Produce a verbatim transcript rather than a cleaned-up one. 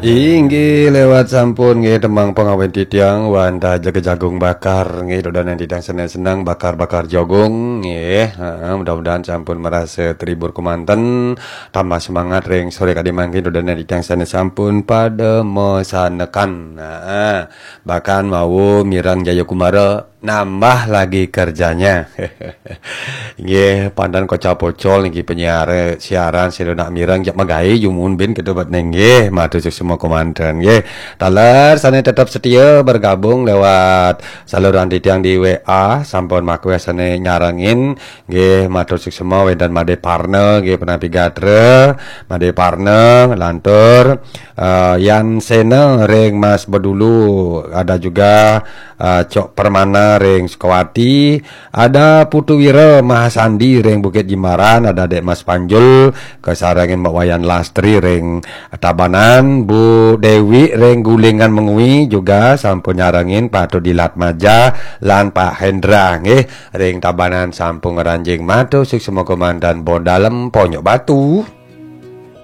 Inggih lewat sampun nggih tembang pangawén titiang wantah jaga jagung bakar nggih, dodonan titiang seneng-seneng bakar-bakar jagung nggih. Heeh, mudah-mudahan sampun merasa terhibur kemanten, tambah semangat ring sore kadi mangkin dodonan titiang sané sampun pada masanekan. Heeh, bahkan wau mireng Jayakumara nambah lagi kerjanya. Nggih, pandan kocap pocol niki penyiar siaran sira nak mireng jak magaé jumun bin kita buat nggih, matur suksma kemanten nggih. Taler sané tetap setia bergabung lewat saluran titiang di W A sampun makweh sané nyarengin nggih, matur suksma wénten Madé Parna nggih, Penapi Gatra, Madé Parna lantur eh, Yan Sena ring Mas Bedulu, ada juga eh, Cok Permana ring Sukawati, ada Putu Wira Mahasandi ring Bukit Jimbaran, ada Dek Mas Panjul, kasarengin Mbak Wayan Lastri ring Tabanan, Bu Dewi ring Gulingan Mengwi juga sampun nyarengin Pak Dilat Maja lan Pak Hendra nggih ring Tabanan sampun ngranjing, matur suksma kemanten, bon dalem Ponyok Batu.